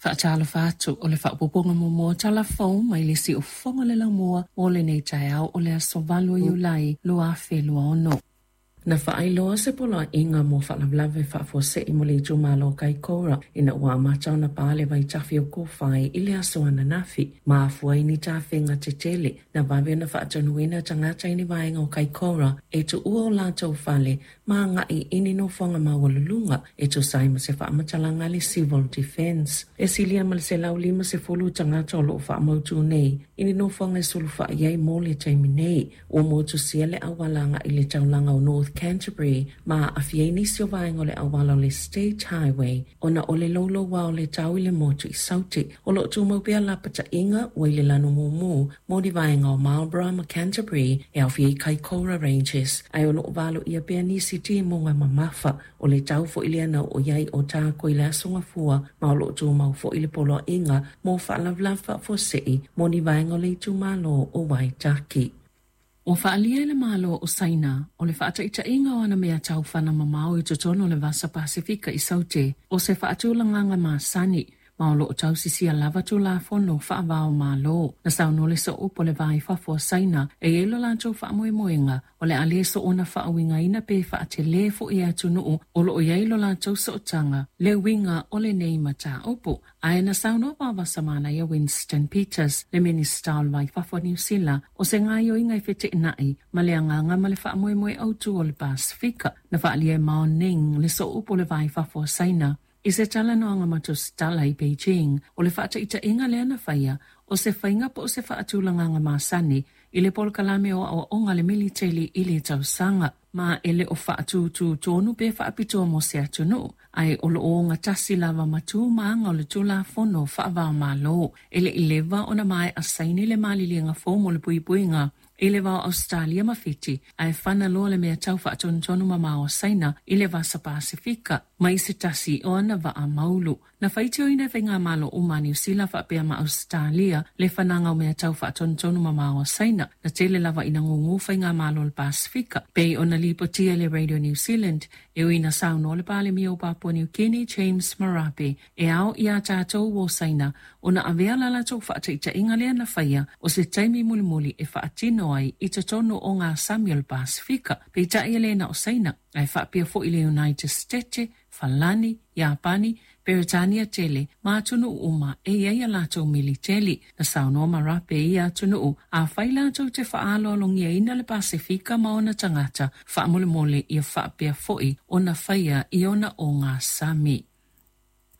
Faatalofa atu o le faaopoopoga muamua o tala fou mai le siufofoga o le laumua mo lenei taeao o le aso 8 o Iulai 2026. Na faailoa se poloaiga mo faalavelave faafuasei mo le itumalo o Kaikoura ina ua amata ona pa le vaitafe o Kowhai i le aso ananafi, ma afua ai ni tafega tetele. Na vave ona faatonuina tagata i ni vaega o Kaikoura e tuua o latou fale ma agai i ni nofoaga maualuluga e tusa ai ma se faamatalaga a le Civil Defence. E silia ma le 150 tagata o lo o faamautu nei i ni nofoaga e sulufai ai mo le taimi nei. Ua motusia le auala agai i le taulaga o North Canterbury ma aafia ai nisi o vaega o le auala o le State Highway ona o le louloua o le tau i le motu i Saute. O lo o tumau pea lapataiga ua i le lanu mumu mo ni vaega o Marlborough ma Canterbury e aofia ai Kaikoura Ranges, ae o lo o valoia pea nisi timuga mamafa. O le tau foi lea na oo i ai Otago i le aso Gafua, ma o lo o tumau foi le poloaiga mo faalavelave faafuasei mo ni vaega o le itumalo o Waitaki. Ua faaalia e le Malo o Saina o le faataitaiga o ana mea taufana mamao i totonu o le Vasa Pasefika i Saute o se faatulagaga masani ma o lo o tausisia lava Tulafono faava o Malo. Na saunoa le sooupu o le Va i Fafo a Saina e i ai lo latou faamoemoega o le a le soona faauigaina pe faatelē foi e atunuu o lo o i ai lo latou sootaga le uiga o lenei mataupu. Ae na saunoa vavasamanaia Winston Peters, le Minisita o le Va i Fafo a Niu Sila, o se gaoioiga e feteenai ma le agaga ma le faamoemoe autu o le Pasefika. Na faaalia e Mao Ning, le sooupu o le Va i Fafo a Saina, i se talanoaga ma tusitala i Beijing, o le faataitaiga lea na faia, o se faiga po o se faatulagaga masani i le polokalame o aoaoga a le militeli i le tausaga, ma e le o faatūtū tonu pe faapitoa mo se atunuu, ae o lo o ogatasi lava ma tu ma aga o le Tulafono faava-o-Malo. E le i leva ona maea saini le maliliega fou mo le puipuiga i le va o Ausetalia ma Fiti, ae fana loa le mea tau faatonutonu mamao a Saina i le Vasa Pasefika mai se tasi o ana vaa maulu. Na faitioina e faigamalo uma a Niu Sila faapea ma Ausetalia le fanaga o mea tau faatonutonu mamao a Saina, na tele lava ina gūgū faigamalo o le Pasefika, pei ona lipotia e le Radio New Zealand, e ui ina saunoa le Palemia o Papua New Guinea James Marape e ao iā tatou o Saina ona avea la latou faataitaiga lea na faia o se taimi mulimuli e faatino ai i totonu o ngā sami o le Pasefika. Peitai e le na o Saina, ae faapea foi le United States, Falani, Iapani, Peretania tele, ma atunuu uma e i ai a latou militeli. Na saunoa Marape i ia atunuu, afai latou te faaaloalogiaina le Pasefika ma ona tagata, faamolemole ia faapea foi ona faia i ona o ngā sami.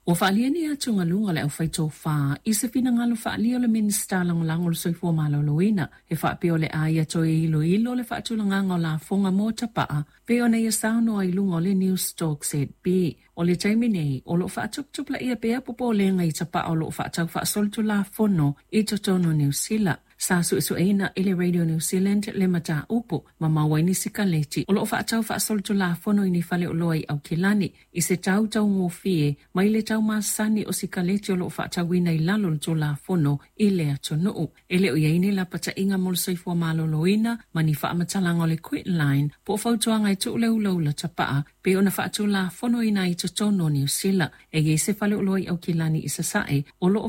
Ua faaalia ni atugaluga a le aufaitofa i se finagalo faaalia o le Minisita Lagolago o le Soifua Maloloina e faapea o le a ia toe iloilo le faatulagaga o lafoga mo tapaa pei ona ia saunoa i luga o le Newstalk ZB. O le taimi nei, o lo o faatuputupulaia pea popolega i tapaa o lo o faatau faasolitulafono i totonu o Niu Sila. Sa suesueina e le Radio New Zealand le mataupu ma maua ai ni sikaleti o lo o faatau faasolitulafono i ni faleoloa i Aukilani i se tau taugofie mai le tau masani o sikaleti o lo o faatauina i lalo o le Tulafono i le atunuu. E le o i ai ni lapataiga mo le soifua maloloina ma ni faamatalaga o le Quitline po o fautuaga e tuu le ulaula tapaa pei ona faatulafonoina ai i totonu o Niu Sila. E i ai se faleoloa i Aukilani i Sasae o lo o.